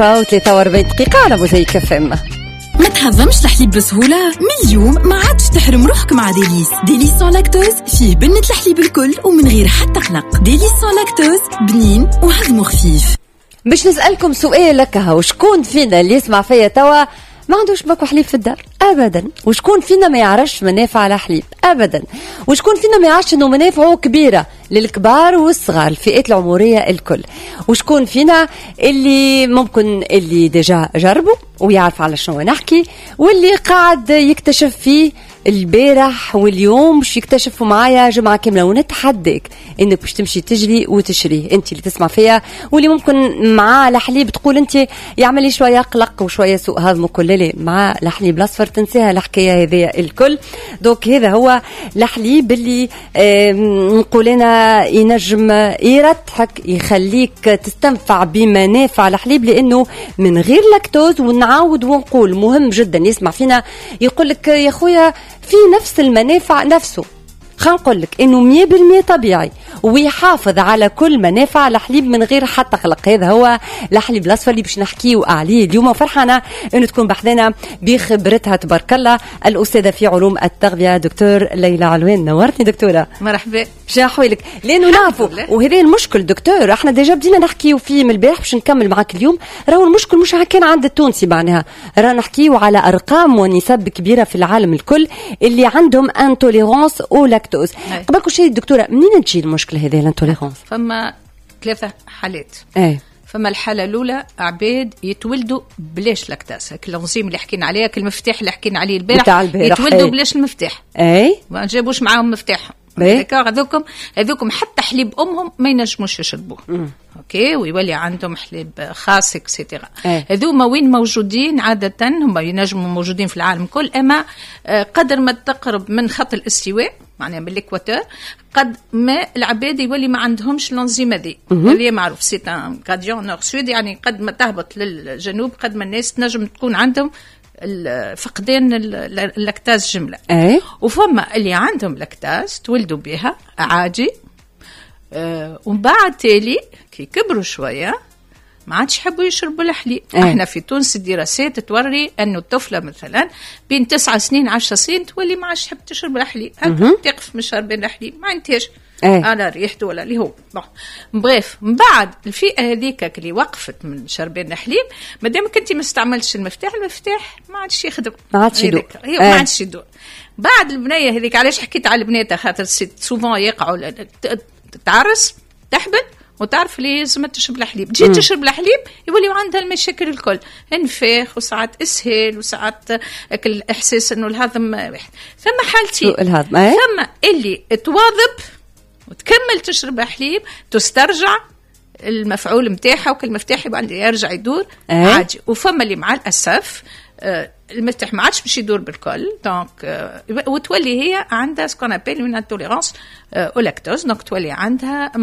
43 دقيقة على موزايك FM. ما تهضمش الحليب بسهولة؟ من اليوم ما عادش تحرم روحك مع Délice. Délice sans lactose فيه بنة الحليب الكل ومن غير حتى قلق. Délice sans lactose بنين وهضمه خفيف. باش نسألكم سؤال لك، وشكون فينا اللي يسمع فيا توا ما عندوش باكو حليب في الدار ابدا؟ وشكون فينا ما يعرفش منافع الحليب ابدا؟ وشكون فينا ما يعرفش انه منافعه كبيرة للكبار والصغار، الفئات العمرية الكل؟ وشكون فينا اللي ممكن اللي déjà جربوا ويعرف على شنو نحكي، واللي قاعد يكتشف فيه البارح واليوم، باش يكتشفوا معايا جمعة كاملة؟ ونتحداك انك باش تمشي تجري وتشريه، انت اللي تسمع فيا واللي ممكن مع الحليب تقول انت يعمل لي شوية قلق وشوية سوء هضم وكل. لا، مع الحليب الاصفر تنساها الحكاية هذه الكل. donc هذا هو الحليب اللي نقول انا ينجم يرتحك، يخليك تستنفع بمنافع الحليب لانه من غير لاكتوز. ونعاود ونقول مهم جدا، يسمع فينا يقول لك يا خويا في نفس المنافع نفسه، خلينا نقول لك انه 100% طبيعي ويحافظ على كل منافع الحليب من غير حتى قلق. هذا هو الحليب الاصفر اللي باش نحكيو عليه اليوم. فرحانة انه تكون بحذنا بخبرتها تبارك الله الاستاذة في علوم التغذية دكتور ليلى علوان. نورتني دكتوره. مرحبا. شو احوالك؟ لانه نعرفوا وهذا المشكل دكتور، احنا déjà بدينا نحكيو فيه من البارح، باش نكمل معاك اليوم. راهو المشكل مش كان عند التونسي، معناها راه نحكيو على ارقام ونسب كبيرة في العالم الكل اللي عندهم intolérance au lactose. قبل كل شيء دكتوره، منين تجي المشكلة هذه l'intolérance؟ فما ثلاثة حالات. فما الحالة الاولى عباد يتولدوا بلاش lactase، l'enzyme اللي حكينا عليها، المفتاح اللي حكينا عليه البارح. البارح. يتولدوا بلاش المفتاح. ما جابوش معاهم مفتاحهم. هذوكم حتى حليب امهم ما ينجموش يشربوه، OK، ويولي عندهم حليب خاص et cetera. هذوما وين موجودين عاده؟ هم ينجموا موجودين في العالم كل، اما قدر ما تقرب من خط الاستواء، معناها من l'équateur، قد ما العباد يولي ما عندهمش l'enzyme هذي اللي معروف، c'est un gradient nord-sud، يعني قد ما تهبط للجنوب قد ما الناس تنجم تكون عندهم فقدان ال lactase جمله. وفما اللي عندهم lactase تولدوا بها عادي، ومن بعد تالي كي كبروا شوية ما عادش يحبوا يشربوا الحليب. احنا في تونس الدراسات توري انه الطفلة مثلا بين 9 سنين 10 سنين تولي ما عادش تحب تشرب الحليب، تقف من شربين الحليب، ما عندهاش على ريحته ولا اللي هو. bon bref، من بعد الفئة هذيك اللي وقفت من شربين الحليب، ما دامك انت ما استعملتش المفتاح، المفتاح ما عادش يخدم. ما عادش يدور. هي ما عادش يدور. بعد البنية هذيك، علاش حكيت على البنات؟ خاطر souvent يقعوا، تعرس، تحبل وتعرف اللي لازم تشرب الحليب، تجي تشرب الحليب يوليو عندها المشاكل الكل، انفاخ وساعات اسهال وساعات الاحساس انه الهضم واحد. ثم حالتين. الهضم. ثم اللي تواظب وتكمل تشرب حليب، تسترجع المفعول نتاعها وكل مفتاح يبقى يرجع يدور عادي. وفما اللي مع الاسف المفتاح ما عادش باش يدور بالكل، donc وتولي هي عندها ce qu'on appelle une intolérance au lactose، donc تولي عندها